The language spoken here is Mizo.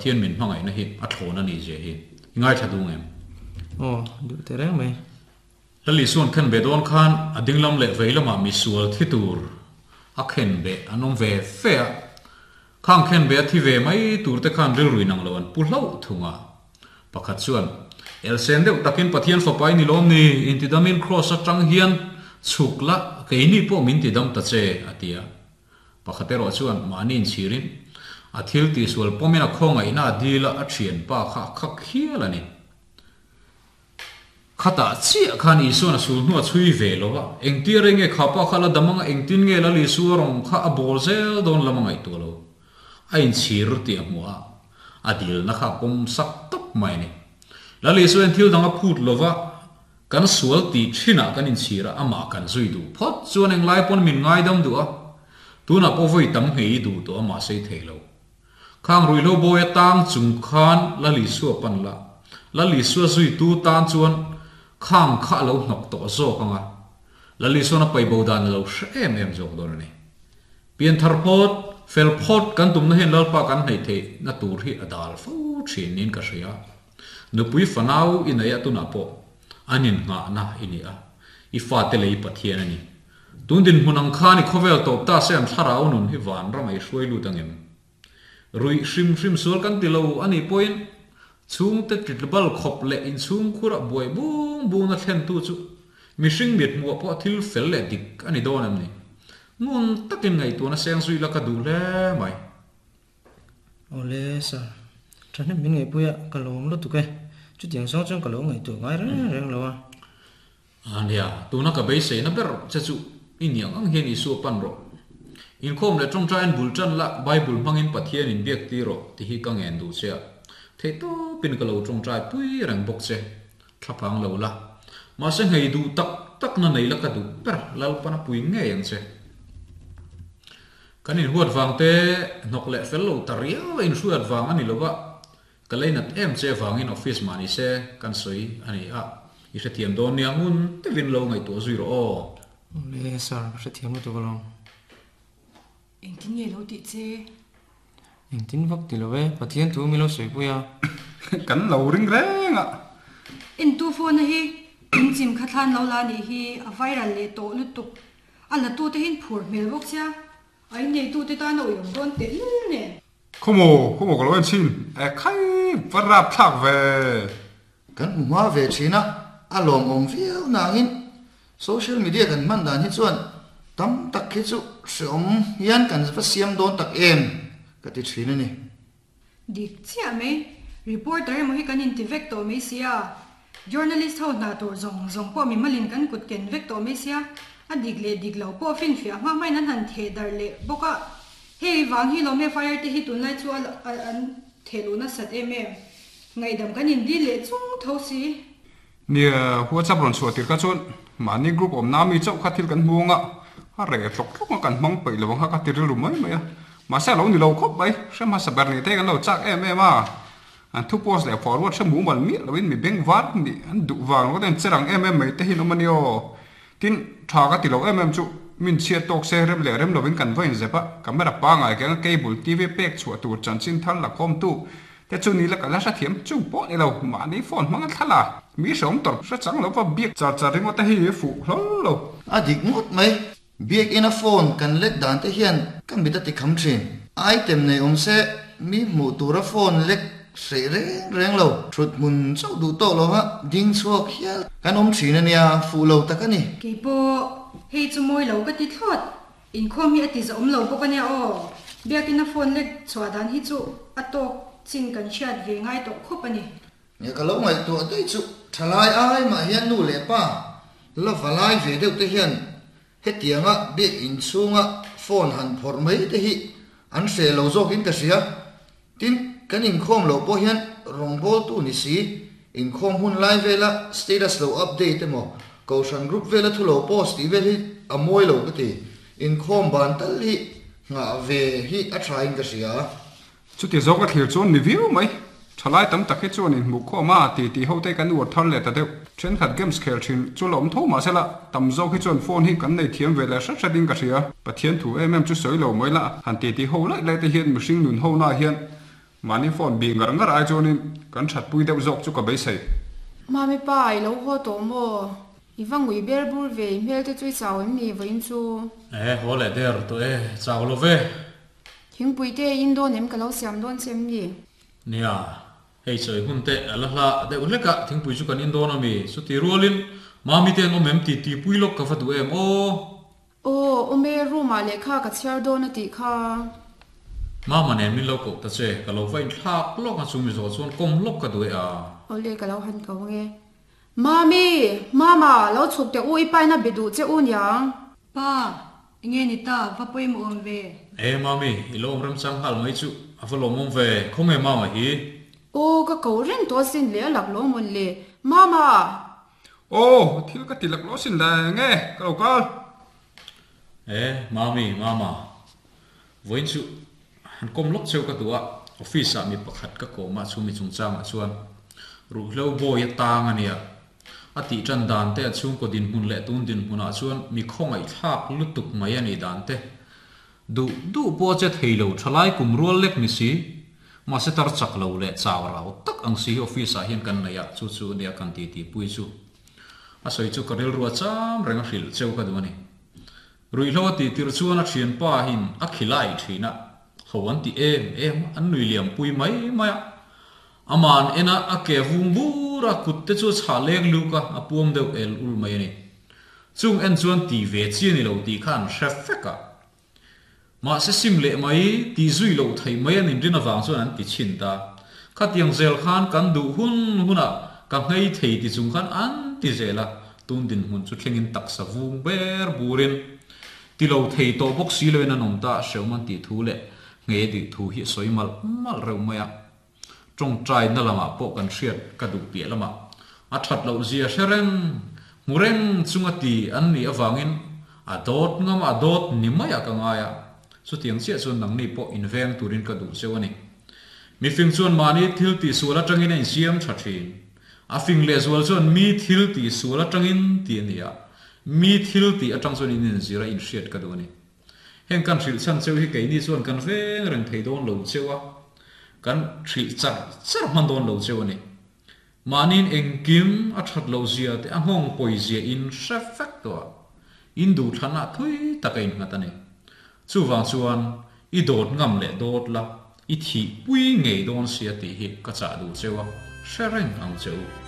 Pathian min hmangaihna hi a thlawn a nih zia hi i ngaithla duh ngem? Aw, duh teh reng mai. Lal Isua'n khen ve dawn khan a dinglam leh vei lamah misual thi tur a khen beh an awm ve fe a, khang khen beh a thi ve mai tur te khan rilru inang lo an pu hlauh thung a. Pakhat chuan, Elsen deuh takin Pathian fapa i ni lawm ni? Intidamin Kraws atang hian chhuk la, keini pawh min tidam ta che, a ti a. Pakhat erawh chuan mahni inchhirin a thil tihsual pawmin a khawngaihna a dil a, a thianpa kha a khak hial a ni. Khatah chiah khan Isua'n a sul hnu a chhui ve lo a, engtia rei nge kha pa kha la dam anga engtin nge Lal Isua rawng kha a bawl zel dawn lam a ngaihtuah lo. A inchhir tih a hmuh a, a dilna kha a pawm sak tawp mai a ni. Lal Isuain thil dang a phut lo va, kan sual tih thinah kan inchhir a, amah kan zui duh phawt chuan englai pawn min ngaidam duh a, tunah pawh vawi tam nghei duh tawh a mahse i thei lo. Khang ruihhlo bawi a tang chung khan Lal Isua pan la, Lal Isua zuitu tan chuan khang kha a lo hnawk tawh zawk ang a, Lal Isuan a paibo dan a lo hre em em zawk dawn a ni. Pianthar phawt, fel phawt kan tumna hian Lalpa kan hnaih theihna tur hi a dal fo thin niin ka hria. Nupui fanau i nei a tunah pawh an innghahna i ni a, i fate lei Pathian a ni. Tun dinhmun ang khan i khawvel tawp ta se an thlarau nun hi vanram a i hruai lut angem? Ruih hrim hrim sual kan ti lo a nih pawhin chhungte titlbal khawp leh inchhungkhur ah buai bung bung na thlentu chu mihring mithmuh ah pawh thil fel leh dik a ni dawn em ni? Ngun takin ngaihtuahna seng zui la ka duh hle mai. Awle sir, thahnem min ngaihpui a, ka lawm lutuk e. Chutiang zawng chuan ka lo ngaihtuah ngai reng reng lo a. A nia, tuna ka beiseina ber che chu i niang ang hian Isua pan rawh. Inkhawm leh tawngtaiin bul tan la, Bible hmangin Pathian in biak tir rawh ti hi ka ngen duh che a. Theihtawpin ka lo tawngtai pui reng bawk che. Thlaphang lo la. Mahse nghei duh tak tak na nei la ka duh ber, Lalpan a pui ngei ang che. Kan inhuat vang te hnawk leh fel lo ta riau a inhruat vang a ni lo va, Ka leinat em che vangin office mah ni se kan sawi a ni a, i hrethiam dawn nia ngun deuhin lo ngaihtuah zui rawh aw. Awle sir, ka hrethiam lutuk alawm. Engtin nge lo tih che? Engtin vak ti lo e, Pathian thu min lo sawipui a. Kan lo ring reng a. Entu phone a hi in chim kha thlan lo la nih hi a viral leh tawh lutuk. A la tu te hin phur hmel bawk sia. A inneitute tan a uiawm dawn tehlul nen. Khawmaw, khawmaw ka lo en chhin e khai va rap thlak ve. Kan hmu hma ve thin a, a lawmawm viau nangin social media kan hman dan hi chuan tam tak hi chu hreawm hian kan va siam dawn tak em ka ti thin a ni. Dik chiah mai, reporter emaw hi kan inti vek tawh mai sia, journalist ho hna tur zawng zawng pawh mimalin kan kut ken vek tawh mai sia, a dik leh dik lo pawh finfiah hma hmain an han theh darh leh bawk a, hei vang hi lawm FIR te hi tunlai chu an theh luh nasat em em, ngaihdam kan indil leh chung tho si. Nia, WhatsApp rawn chhuah tir kha chuan mahni group awmna mi chauh kha thil kan hmu ang a, a reh tlawk tlawk a kan hmang peih lo ang kha ka ti rilru mai mai a. Mahse a lo ni lo khawp mai, hre hmasa ber nih te kan lo chak em em a. An thu post leh forward hre mumal miah loin mi beng var nih an duh vang lo ten che rang em em mai te hi an awm a nia aw. Tin, tha ka ti lo em em chu min chhiat tawk se rem leh rem lovin kan va inzep a, camera pangai keng a cable TV pek chhuah tur chanchin thar la khawmtu Te chu ni la ka la hrethiam chung pawh ni lo, mahni phone hmang a thla la, mi hreawm tawrh hre chang lo va biak char char ringawt te hi fuh hlawl lo. A dik ngawt mai, biakina phone kan lek dan te hian ka mit a ti kham thin. Item nei awm se mi hmuh tura phone lek hreh reng reng lo, thut hmun chauh duh tawh lo va ding chhuak hial kan awm thin a nia, fuh lo tak a ni. Keipawh hei chu mawi lo ka ti thlawt. Inkhawm hi a ti zahawm lo bawk a nia aw. Biakina phone lek chhuah dan hi chu a tawk chin kan hriat ve ngai tawh khawp a ni. Nge ka lo ngaihtuah daih chu thalai ai mah hian nu leh pa la va lai ve deuh te hian hetianga biak inchhunga phone han phawrh mai te hi an hreh lo zawkin ka hria. Tin, kan inkhawm loh pawh hian rawngbawltu ni si, inkhawm hun lai vela status lo update emaw, kohhran group vela thu lo post tih vel hi a mawi lo ka ti. Inkhawm ban tal hi nghah ve hi a tha in ka hria. Chuti zawk a thlir chuan ni viau mai. Thalai tam tak hi chuan inhmuh khawm a ti tih ho te kan uar thar leh ta deuh. Thenkhat games khel thin chu la awm tho mahse la, tam zawk hi chuan phone hi kan nei thiam ve leh hret hret in ka hria. Pathian thu em em chu sawi lo mai la, han ti tih ho laih laih te hian mihring nun ho na hian Mahni phone bih ngar ngar ai chuanin kan thatpui deuh zawk chu ka beisei. Mami pa, i lo haw tawh maw? I va ngui ber bur ve, i hmel te chu i chau em ni vawiin chu? E, haw leh der tawh e, chau lo ve. Thingpui te in dawn em ka lo siam dawn che em ni? Nia, hei chawi hun te a la hla deuh hlek a, thingpui chu kan in dawn a mi? Chuti rualin Mami te an awm em ti tihpui lawk ka va duh em aw? Aw, awm e, room ah lehkha ka chhiar dawn a tih kha. Mama nen min lo koh ta che, ka lo va inthlak lawk a, chu mi zawh chuan kawm lawk ka duh e a. Awle, ka lo han ko ang e. Mami! Mama, lo chhuk teh u, i paina be duh che u niang. Pa, enge ni ta, va pawimawh awm ve. E, Mami, i lo awm remchang nghal mai chu, a va lawmawm ve, khawnge Mama hi? Aw, ka ko reng tawh asin le, a lak lawm awn le. Mama! Aw, thil ka ti lak lo sin le, nge ka lo kal? E, Mami, Mama, vawiin chu han kawm lawk cheu ka duh a, office ah mi pakhat ka kawm a, chu mi chungchangah chuan ruhhlo bawi a tang a nia. A tih tan dan te, a chhungkaw dinhmun leh tun dinhmunah chuan mi khawngaihthlak lutuk mai a nih dan te, Duh duh pawh a che thei lo, thalai kum rual lek ni si. Mahse tar chak lo leh chau rau tak ang si hi office ah hian kan nei a, chu chu nia kan ti tih pui chu. A sawi chu ka rilru a cham reng a hrilh cheu ka duh a ni. Ruihhlo a tih tirh chuan a thianpa hin a khilai thin a, ho an ti em em a, an nui liam pui mai mai a. Aman en a, a ke vung bur a, kut te chu a chhah leng luk a, a puam deuh el ul mai a ni. Chung en chuan ti ve chi a ni lo tih kha an hre fek a. Mahse sim leh mai, ti zui loh theih mai an inrin avang chuan an ti chhin ta. Khatiang zel khan kan duh hun hunah ka nghei thei ti chung khan an ti zel a, tun dinhmun chu thlengin taksa vung ber burin ti lo thei tawh bawk si loin an awm ta, hrehawm an tih thu leh nghei dih thu hi a sawi malh malh reuh mai a. Tawngtaina lamah pawh kan hriat ka duh piah lamah a that loh zia hre reng, hmu reng chunga ti an nih avangin a dawt ngam a dawt ni maiah ka ngai a, chutiang chiah chuan nangni pawh inveng turin ka duh cheu a ni. Mifing chuan mahni thil tihsual atangin a insiam tha thin. A fing lehzual chuan mi thil tihsual atangin ti a ni a, mi thil tih atang chuan in inzir a inhriat ka duh a ni. Heng kan hrilh chhan cheu hi keini chuan kan veng reng thei dawn lo cheu a, kan hrilh char char hman dawn lo cheu a ni. Mahniin engkim a that loh zia te a nghawng pawi zia in hre vek tawh a, in duhthlanah thui tak a innghat a ni. Chuvang chuan i dawt ngam leh dawt la, i thihpui ngei dawn sia tih hi ka chah duh cheu a, hre reng ang che u.